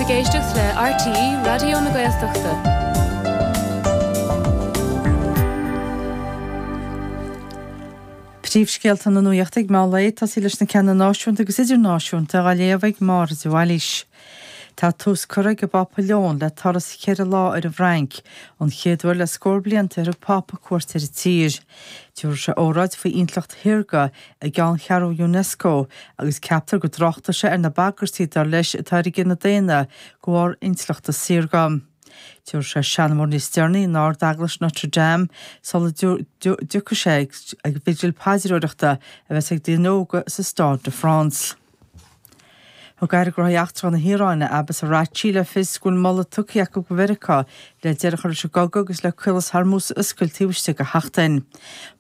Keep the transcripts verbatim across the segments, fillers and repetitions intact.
sibh ag éisteacht le RTÉ Raidió na Gaeltachta. Príomhscéalta na nuachta ag meán lae ag tosaí leis na ceanna náisiúnta agus idirnáisiúnta á léamh ag Máire de Bhailís. Tá tús curtha ag an bPápa Leon le turas ceithre lá ar an bhFrainc, an chéad uair le scór blianta ar thug Pápa cuairt ar an tír. Tabharfaidh sé óráid faoi intleacht shaorga i gceanncheathrú UNESCO agus ceaptar go dtráchtfaidh sé ar na bagairtí dar leis atá ar an gcine daonna de bharr intleachta saorga. Tabharfaidh sé seanmóir níos deireanaí in Ard-Eaglais Notre Dame sula dtiocfaidh sé ag bigil paidreoireachta a bheas ag daoine óga sa Stade de France. Thug Aire Gnóthaí Eachtracha na hIaráine, Abbas Araghchi, le fios go bhfuil moladh tugtha acu go Mheiriceá le deireadh a chur leis an gcogadh agus le Caolas Hormuz a oscailt taobh istigh de sheachtain.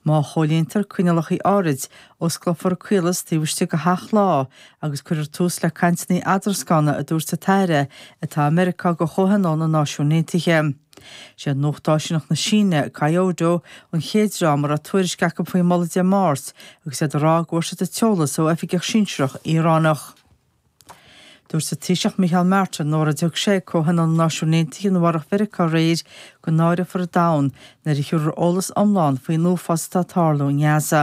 Má chomhlíontar coinníollacha áirid, osclófar an caolas taobh istigh de sheacht lá agus cuirfear tús le cainteanna eadroscána, a dúirt an tAire atá i Meiriceá do Chomhthionól na Náisiún Aontaithe. Sé Nuacht Áisiúnach na Síne, Kyodo, an chéad dream a raibh tuairisc acu faoin moladh Dé Máirt agus iad ag rá go bhfuair siad an t-eolas ó oifigeach sinsearach Iaránach. Dúirt an Taoiseach Micheál Martin in óráid a thug sé ag Comhthionól na Náisiún Aontaithe i Nua-Eabhrac Mheiriceá aréir go náireofar an domhan nuair a thabharfar eolas iomlán faoin uafás atá ag tarlú i nGaza.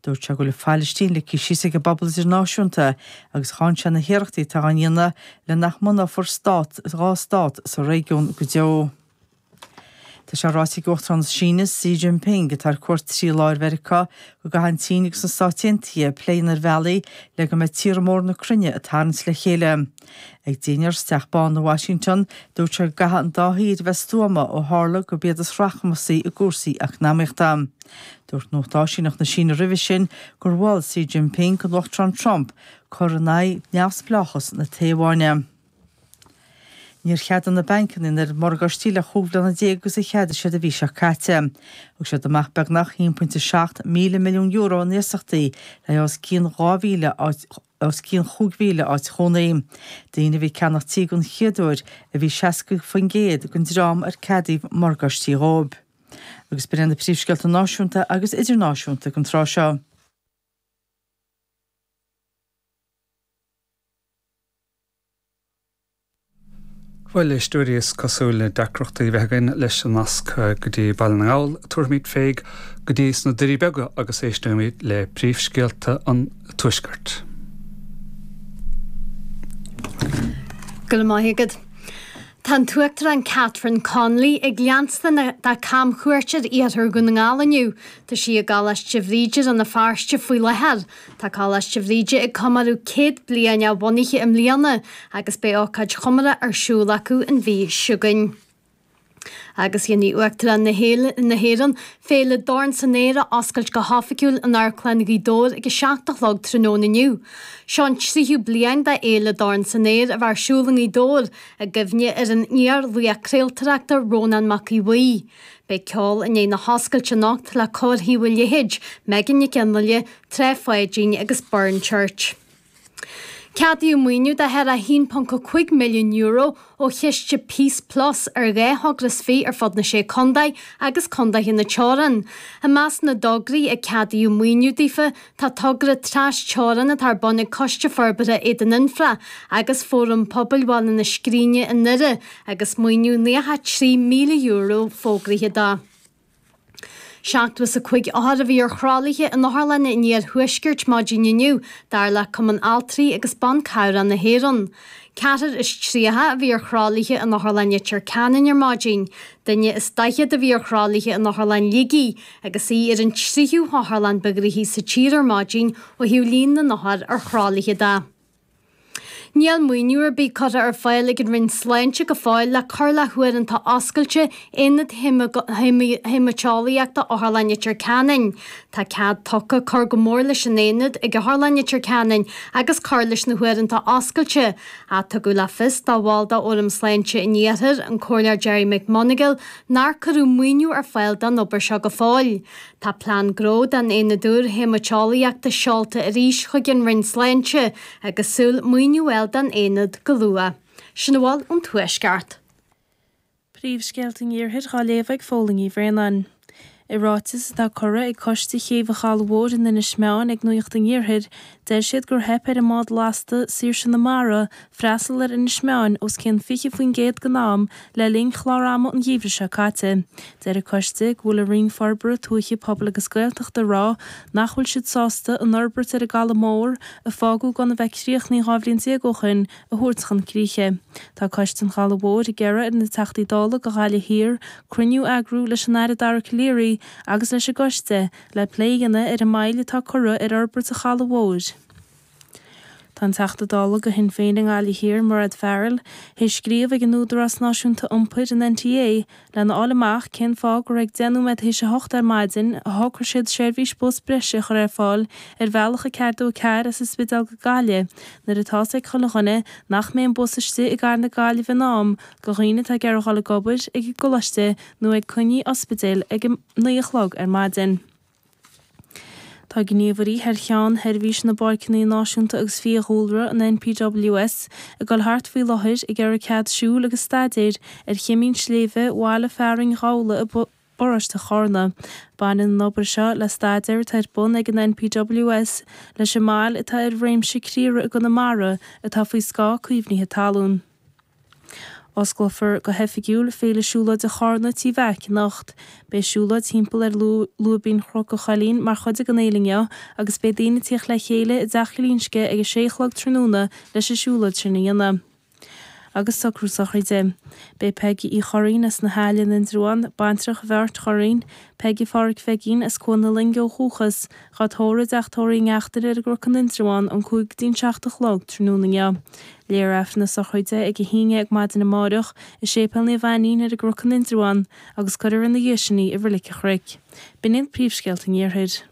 Dúirt sé go bhfuil an Phailistín ligthe síos ag an bpobal idirnáisiúnta agus cháin sé na hiarrachtaí atá á ndéanamh le nach mbunófar stát dhá stát sa réigiún go deo. Tá sé ráite ag Uachtarán na Síne, Xi Jinping, atá ar cuairt trí lá ar Mheiriceá, go gcaithfidh an tSín agus na Stáit Aontaithe plé a dhéanamh ar bhealaí le go mbeidh tíortha móra na cruinne ag tarraingt le chéile. Ag dinnéar sa Teach Bán i Washington, dúirt sé go gcaithfidh an dá thír a bheith stuama ó tharla gurb iad is rachmasaí i gcúrsaí eacnamaíochta. Dúirt Nuacht Áisíneach na Síne roimhe sin gur mhol Xi Jinping don Uachtarán Trump cur in aghaidh neamhspleáchas na Téaváine. Níor cheadaigh na bancanna an oiread morgáistí le chúig bhliana déag agus a cheadaigh siad an mhí seo caite. Thug siad amach beagnach a haon pointe seacht míle milliún euro in iasachtaí le os cionn dhá mhíle áit os cionn chúig mhíle áit chónaí. Daoine a bhí ag ceannach tí den chéad uair a bhí seasca faoin gcéad den dream ar ceadaíodh morgáistí dhóibh. Agus b'in iad na príomhscéalta náisiúnta agus idirnáisiúnta don tráth seo. Bhuel, a éisteoirí, is cosúil le deacrachtaí a bheith againn leis an nasc go dtí Baile na nGall. Tabharfaimid féig go dtí sna Doirí Beaga agus éisteoimid le príomhscéalta an Tuaiscirt. Go raibh maith agat. Tá an tUachtarán Catherine Connolly ag leanstan dá camchuairt ar iarthar Dhún na nGall inniu. Tá sí i gColáiste Bhríde Rann na Feirste faoi láthair. Tá Coláiste Bhríde ag comóradh céad bliain a bhunaithe i mbliana agus beidh ócáid chomórtha ar siúl acu an mhí seo chugainn. Agus dhéanfaidh Uachtarán na hÉireann Féile Dorn san Aer a oscailt go hoifigiúil in Amharclann Ghaoth Dobhair ag a seacht a chlog tráthnóna inniu. Seo an tríú bliain de Fhéile Dorn san Aer a bheith ar siúl i nGaoth Dobhair i gcuimhne ar an iar-laoch craoltóireachta Rónán Mac Aodha Bhuí. Beidh ceol i ndiaidh na hoscailte anocht le Cór Thaobh an Leithéid, Megan Nic Fhionnghaile, Trá Pháidín agus Burren Church. Ceadaíodh maoiniú de thar a haon ponc cúig milliún euro ó chiste Peace Plus ar dhá thogra is fiche ar fud na Sé Contae agus contaetha na teorann. I measc na dtograí a ceadaíodh maoiniú daofa tá togra tras-teorann atá ar bun ag Coiste Forbartha Éadan Fhionntrá agus Fóram Pobail Bhaile na Scríne i nDoire agus maoiniú nócha trí míle euro fógraithe dó. Seachtó is a cúig othar a bhí ar thralaithe in otharlanna an iarthuaiscirt maidin inniu, dar le Cumann Altraí agus Ban Cabhrach na hÉireann. Ceathrar is tríocha a bhí ar thralaithe in Otharlann Leitir Ceanainn ar maidin. Duine is daichead a bhí ar thralaithe in Otharlann Shligigh agus í ar an tríú hotharlann ba ghnoithí sa tír ar maidin ó thaobh líon na n-othar ar thralaithe de. Níl maoiniú ar bith curtha ar fáil ag an Roinn Sláinte go fóill le cur le huaireanta oscailte Aonad Haemaiteolaíochta Otharlann Leitir Ceanainn. Tá cead tugtha cur go mór leis an aonad ag Otharlann Leitir Ceanainn agus cur leis na huaireanta oscailte, ach tugadh le fios do bhall de Fhóram Sláinte an Iarthair, an Comhairleoir Gerry McMonagall, nár cuireadh maoiniú ar fáil don obair seo go fóill. Tá plean gnó don aonad úr haemaiteolaíochta seolta arís chuig an Roinn Sláinte agus súil maoiniú a fháil don aonad go luath. Sin a bhfuil ón Tuaisceart. Príomhscéalta an Iarthair dhá léamh ag Fódhla Ní Bhraonáin. I ráiteas atá curtha ag Coiste Chéibh an Chalaidh Mhóir in Inis Meáin ag Nuacht an Iarthair, deir siad gur theip ar an mbád lasta Saoirse na Mara freastal ar Inis Meáin os cionn fiche faoin gcéad den am le linn chlár ama an gheimhridh seo caite. Deir an coiste go bhfuil an Roinn Forbartha Tuaithe, Pobail agus Gaeltachta ag rá nach bhfuil siad sásta an fhorbairt ar an gCaladh Mór, a fágadh gan a bheith críochnaithe dhá bhliain déag ó shin, a thabhairt chun críche. Tá Coiste an Chalaidh Mhóir ag iarraidh ar na Teachtaí Dála do Ghaillimh Thiar cruinniú a eagrú leis an Aire Dara Calleary agus leis an gcoiste le plé a dhéanamh ar an moill atá curtha ar fhorbairt an Chalaidh Mhóir. Tá an Teachta Dála do Shinn Féin i nGaillimh Thiar, Mairéad Farrell, théis scríobh ag an Údarás Náisiúnta Iompair, an N T A, lena fháil amach cén fáth gur ag deich nóiméad théis a hocht ar maidin a shocraigh siad seirbhís bus breise a chur ar fáil ar bhealach a ceathair dó a ceathair as an Spidéal go Gaillimh nuair atá 's ag chuile dhuine nach mbeidh an bus istigh i gcathair na Gaillimhe in am do dhaoine atá ag iarraidh dhul ag obair, ag an gcoláiste nó ag coinní ospidéil ag a naoi a chlog ar maidin. Tá gníomhairí thar cheann Sheirbhís na bPáirceanna Náisiúnta agus Fiadhúlra, an N P W S, ag dul thart faoi láthair ag iarraidh cead siúil agus staidéir ar chimín sléibhe bhaile fearainn Ghabhla i bparóiste Charna. Baineann an obair seo le staidéar atá ar bun ag an N P W S leis an mbail atá ar réimse criara i gConamara atá faoi scáth caomhnaithe talún. Osclófar go hoifigiúil Féile Siúlóide Charna Tí Mheaic anocht. Beidh siúlóid timpeall ar lúibín Chnoc an Choillín mar chuid den fhéile inniu agus beidh daoine ag tíocht le chéile i dTeach Ghlinsce ag a sé a chlog tráthnóna leis an siúlóid sin a dhéanamh. Agus socrú sochraide. Beidh Peigí Uí Churraoin as na hAille in Indreabhán, baintreach Bheáirt Churraoin, Peigí Phádraig Pheigín as Cuan na Loinge ó dhúchas, dhá tórramh i dteach tórraimh Uí Neachtain ar an gCnoc in Indreabhán ón cúig go dtí an seacht a chlog tráthnóna inniu. Léifear Aifreann na sochraide ag a haon déag maidin amárach i Séipéal Naomh Ainnín ar an gCnoc in Indreabhán agus cuirfear ina dhiaidh sin í i Reilig an Chnoic. B'in iad príomhscéalta an Iarthair.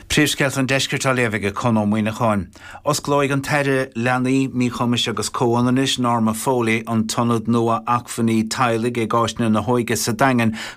Príomhscéalta an Deiscirt á léamh ag Conn Ó Muíneacháin. Osclóidh an tAire Leanaí, Míchumais agus Comhionannais Norma Foley an tIonad nua acmhainní teaghlaigh ag Áiseanna na hÓige sa Daingean.